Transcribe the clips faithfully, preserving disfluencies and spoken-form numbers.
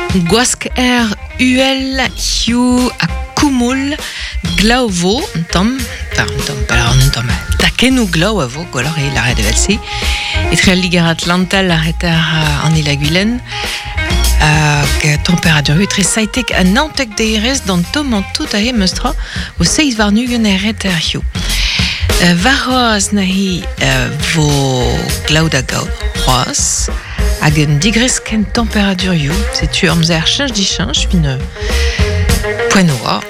Gwask er uhel hiu a koumoul glav vo un tamm, enfin un tamm, pas un tamm, takennoù glav a vo, gwelloc'h eo lâret evel-se. Etre al Liger Atlantal ar eter an Ilaguilen, hag temperatur etre seitek ha naontek derez d'an tomm an tout ahe meustra o seiz warn-ugent er eter hiu. Warc'hoazh neuze vo glav da gaout c'hoazh, hag un digresk en temperaturioù, setu amzer cheñch dicheñch, fin poent oa,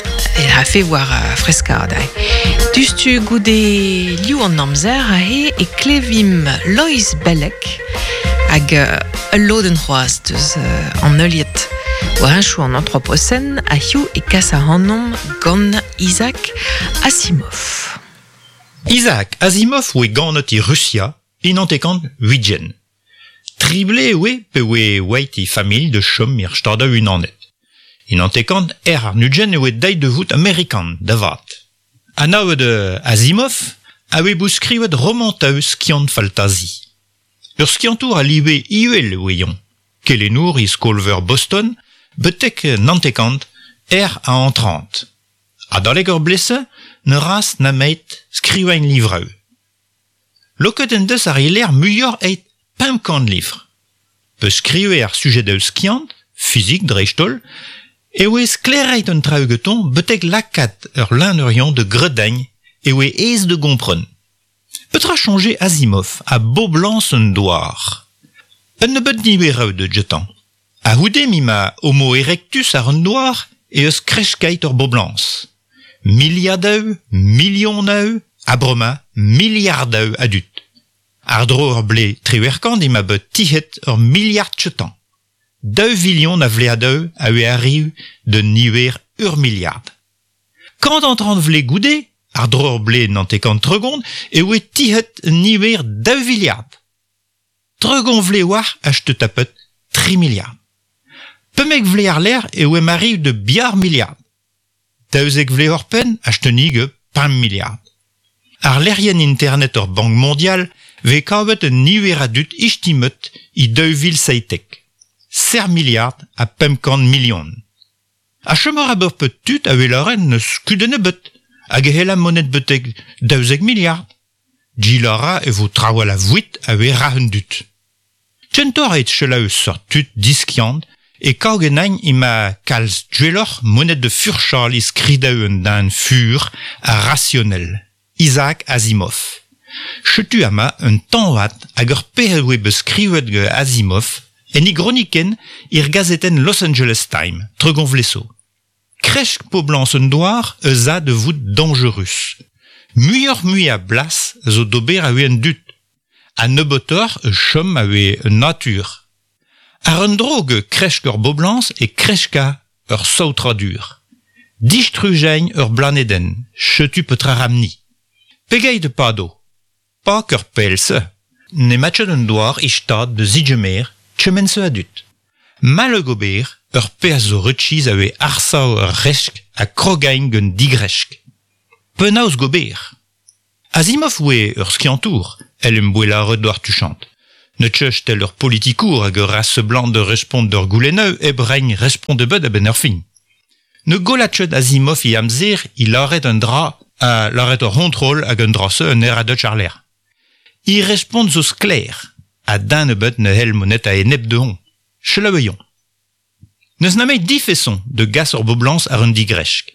e rafe war freskaat ahe. Dustu goude liv an amzer ahe e klevim Loeiz Bellec hag ul lodenn c'hoazh deus an heuliad war henchoù an Anthropocène a hiziv e kas ac'hanomp gant Isaac Asimov. Isaac Asimov oe ganet e Russia e hanter-kant ugent. Tri ble oe pe oe oeit e familh de chom er Stadoù Unanet. En hanter-kant er warn-ugent e oe deuet da vout Amerikan, da vat. Anavet Asimov a oe bout skrivet romantoù skiant-faltazi. Ur skiantour a live uhel e oe-eñ. Kelennour e skol-veur Boston, betek hanter-kant er a hanter-trant. Adalek ur blese, ne ras nemet skrivañ livroù. Lakaet en deus ar e ler muioc'h eget pemp kant livr. Pe skrive ar sujedoù skiant, fizik dreist-holl, e oe sklaeraet an traoù gantañ betek lakaat ur lennerion da gredañ e oe aes da gompren. Petra soñje Asimov a boblañs an douar. Un nebeud niveroù da gentañ. A-c'houde m'emañ Homo erectus ar an douar e eus kresket ur boblañs. Miliadoù, milionoù, ha bremañ miliardoù a dud. Àr-dro ur blez triwec'h kant ema bet tizhet ur miliard chetañ. Daou vilion a vleadoù a oe arriv d'un niver ur miliard. Kant hanter-kant vlez goude, àr-dro ur blez naontek-kant tregont, e oe tizhet un niver daou viliard. Tregont vlez war a chte tapet tri miliard. Pemzek vlez àr-lerc'h e oe arriv de biar miliard. Daouzek vlez oc'hpenn a chte pemp miliard. Ar lec'hienn internet ur Bank Mondial vez kavet un niver a dud istimet e daou vil seitek. Ser miliard ha pemp kant milion. Ha chom a ra ur pet tud a wel lâret n'eus kudenn ebet, hag e c'hella monet betek daouzek miliard. Gilara e vo trawal a vouit a we ra un dud. Kentoc'h eget selaou seurt tud diskiant e kav ganin ema kalz gwelloc'h monet da furchal e skridoù un den fur ha rasionel. Isaac Asimov. Setu amañ un tañvad ag ur pezh oe bet skrivet gant Asimov en e gronikenn er gazetenn Los Angeles Times, tregont vlez zo. Kresk poblañs an douar ez a da vout dañjerus. Muioc'h-mui a blas zo d'ober a un dud. Ha nebeutoc'h e chom a un natur. Ar un dro ge kresk ur boblañs e kreska ur saotradur. Distrujeñ ur blanedenn, setu petra ramni. Pegeit e pado. Pas ur pell-se. N'emañ ket an douar e stad da zigemer kement-se a dud. Mall gober ur pezh zo rechiz a oe arsav ur resk ha krogañ gant digresk. Penaos gober. Asimov oe ur skiantour, el em boe lâret doc'h tuchant. Ne teuch tel ur politikour hag ur ra seblant de respont d'ur goulennoù hep reiñ respont ebet a-benn ar fin. Ne golla ket Asimov e amzer i lâret un dra a lâret ur c'hontrol hag un dra-se un er a deut àr-lerc'h. I respont zo sklaer, ha den ebet ne c'hell monet a-enep dezhoñ. Selaoueomp. N'eus nemet div feson de gas ur boblañs àr un digresk.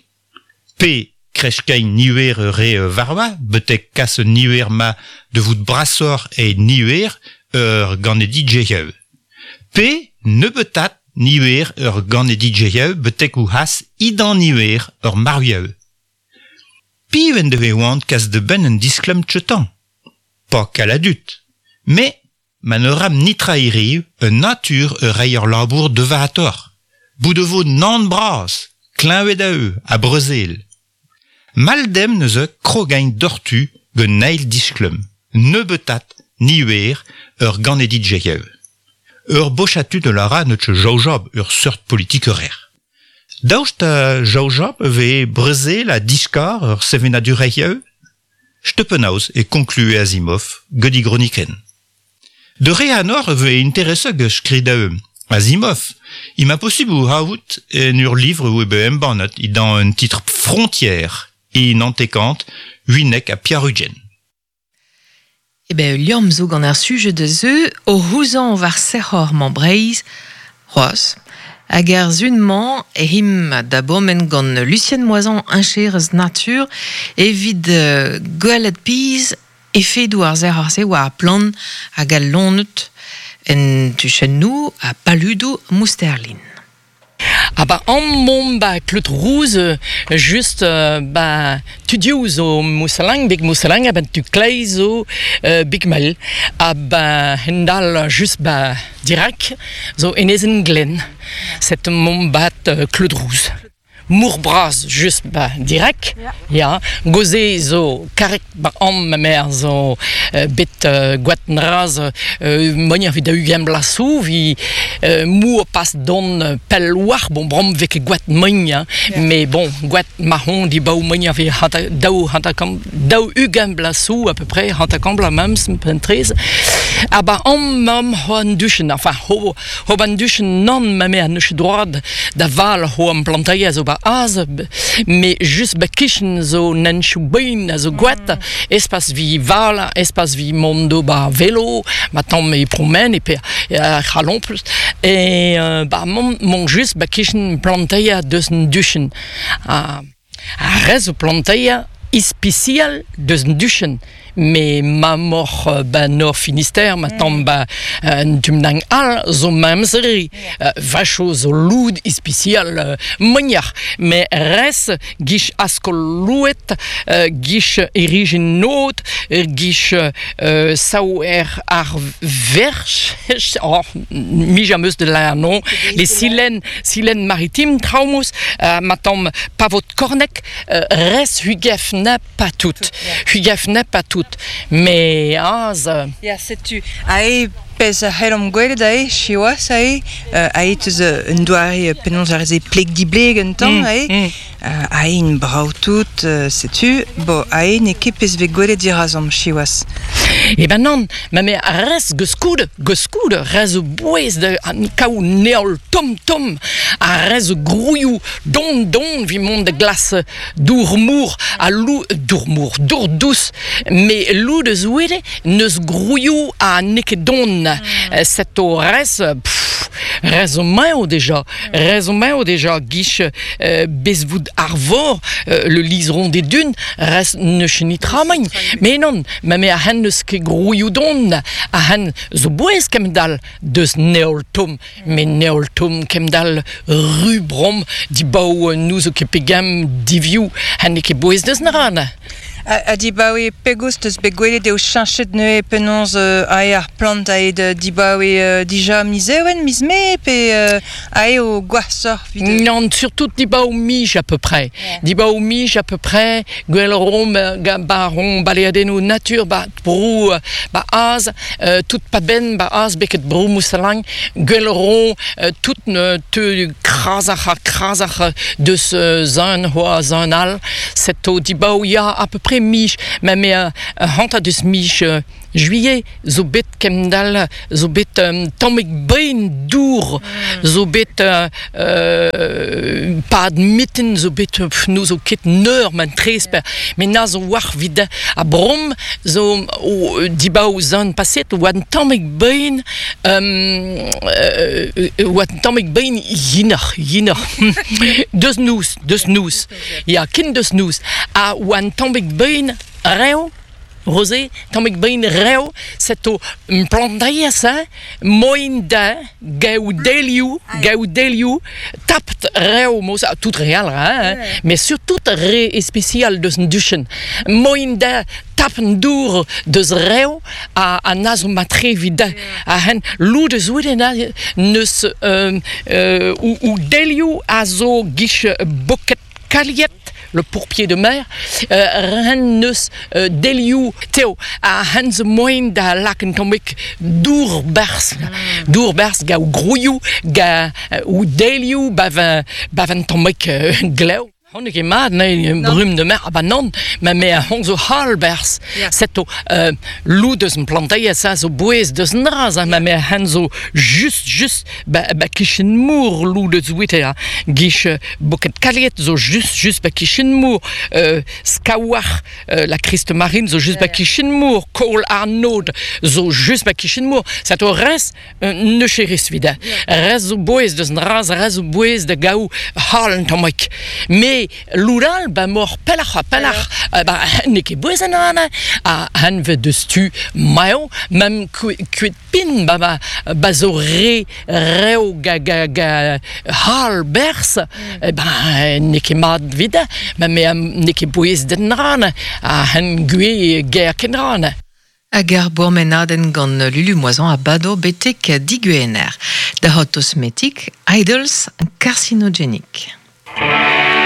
Pe kreskiñ niver ur re varva, betek kas un niver ma de vout brasoc'h e niver ur ganedigezhioù. Pe nebeutat niver ur ganedigezhioù betek o c'has idan niver ur marvioù. Piv en defe c'hoant kas da benn un disklem chetañ. Pas kalz a dud. Mais ma ne ram nitra hiriv un natur ur reiñ ur labour devaatoc'h. Bout e vo naon bras, kleñved a eu, ha brezel. Mall demp neuze krogañ doc'htu gant eil disklem. Nebeutat niver ur ganedigezhioù. Ur bochad tud a lâra n'eus ket jaojabl ur seurt politikerezh. Daoust ha jaojabl e vez brezel ha diskar ur sevenadurezhioù? Setu penaos e konklue Asimov gant e gronikenn. De re anor e vez intereset gant skridoù. Asimov, il m'a possible ou haout en ur livre ou ebe embannet i dans un titre Frontière i nantekant huinek a Pierre-Ugen. E ben, liamm zo gant ar sujet de zeu o c'houzan war sec'hor man Breizh, c'hoazh. Hag ar zun-mañ e him da bomen gant Lucienne Moisan heñcherez natur evit uh, gwelet piz efedoù ar sec'hor-se war ar plant hag al loened en tuchennoù ha paludoù Mousterlin. Ah ba an mont ba Kleut Rouz just euh, ba tudioù zo Moussalang, big Moussalang, a ben tu kleiz zo euh, big mel. A ba hendal just ba dirak zo enezen glen. Set mont bat euh, Kleut Rouz. Mour bras just ba dirak, ya. Goze zo karek ba am ma mère zo euh, bet euh, gwat nraz euh, monia vi da ugent blasou vi euh, mour pas don pel war bon brom vek gwat mogn mais bon gwat mahon di baou monia vi hanta daou hanta kam daou ugent blasou à peu près hanta kam bla mems pentrez ah ba am mam ho an duchen enfin ho ho ban duchen non ma mère neus droit da val ho am plantaia zo ba az mais just ba kichen zo nenchou bein a zo gwat mm. Espas vi val espas vi mondo ba vélo ma tamm e promène et pe c'halon plus et euh, ba mon, mon just ba kichen plantaia deus an duchen a a rez o plantaia ispicial deus an duchen mais ma mor ba nor Finistère ma tamm ba un tumnang al zo mamzeri vacho zo loud ispicial mognar mais res gich askol louet gich erigin not gich sao er ar verch oh mi jameus de la non les silènes silènes maritimes traumus ma tamm pavot kornek res hugef n'a pas tout hugef n'a pas tout mais az Ya setu ae pez a c'hellomp gwelet ae siwazh ae ae teus un doare penaos ar reze pleg dibleg un tamm ae mm. Ae in brav tout setu bo ae n'eo ket pezh vez gwelet dirazomp siwazh. E ben non, ma me rez geskoud, geskoud, rez bouez de an kaou neol tom tom, a rez grouioù don don vi mont de glace dour mour a lou dour mour dour douce mais lou de zouede neus grouioù a neket don mm. Set o rez pff, rez o maeo déjà rez o maeo déjà guich euh, bezvoud arvor euh, le liseron des dunes rez ne chenitra magn mais non ma me a hen neus ket grouioù don a hen zo bouez kemdal deus neol tom mais neol tom kemdal rubrom di baou nous zo ket pegam diviou hen ket bouez deus naran. A, a dibaoe pegoust eus bet gwelet eo cheñchet neuze penaos euh, ae ar plant ae de dibaoe euh, dija miz ewen, miz mae, pe euh, ae o gwashoc'h vid... Non, surtout dibaoe mij à peu près. Yeah. Dibaoe mij à peu près, gwell rom ba rom baleadennoù natur ba brou ba az, euh, tout pa ben ba az beket brou moussalang, gwell rom euh, tout ne te krasach ha krasach deus euh, zan hoa zan al, set o dibaoe ya à peu près mij, ma me uh, hanta deus mij uh, juillet zo bet kemdal zo bet um, tammig bein dour mm. Zo bet uh, uh, pad mitten zo bet pff, nou zo ket neur man tresper yeah. Mais na zo war vid a brom zo o dibaou zan paset oa an tammig bein um, uh, oa an tammig bein yinoc'h yinoc'h deus nous deus nous ya kin deus nous a oa an tammig bein rev Rosé, tammig bein rev, set o plantaia sa, moin da, gaou delioù, gaou delioù, tapt rev, mos, tout real, hein, yeah. Mais surtout re especial deus an duchen. Moin da, tap an dour deus rev, a, a na zo matre vid da, a hen lou deus oude na neus euh, euh, ou, ou delioù a zo gich boket kaliet, le pourpier de mer, euh, ren neus euh, delioù teo a hen zo moin da lak un tammig dour berz, mm. Dour berz ga ou grouioù, ga euh, ou delioù bav un, bav un tammig euh, glev. Hon ket mat, ne, brume de mer, ah ba non, ma me a hon zo halbers. Yeah. Seto, euh, lou deus un planteia, sa zo bouez deus un raz, ma me a hen zo just, just, ba, ba kichen mour lou deus wite, ha. Gich boket kaliet zo just, just ba kichen mour, euh, skaouar, euh, la Christ marine zo just yeah, ba kichen mour, Kohl Arnaud zo just ba kichen mour. Seto res, euh, ne cheris vida. Yeah. Res zo bouez deus un raz, res zo bouez de gaou halen tamoik. Me loural ba mor pelach ha pelach ba n'eo ket bouez an an a hanve deus tu maeo mem kuet pin ba ba, ba zo re reo ga ga ga hal bers mm. ba n'eo ket mat vida ma me n'eo ket bouez den ran a han gwe ger ken ran. Hag ar bourmenadenn gant Lulu Moisan a bado betek diguener. Da hot osmetik, idols carcinogenic.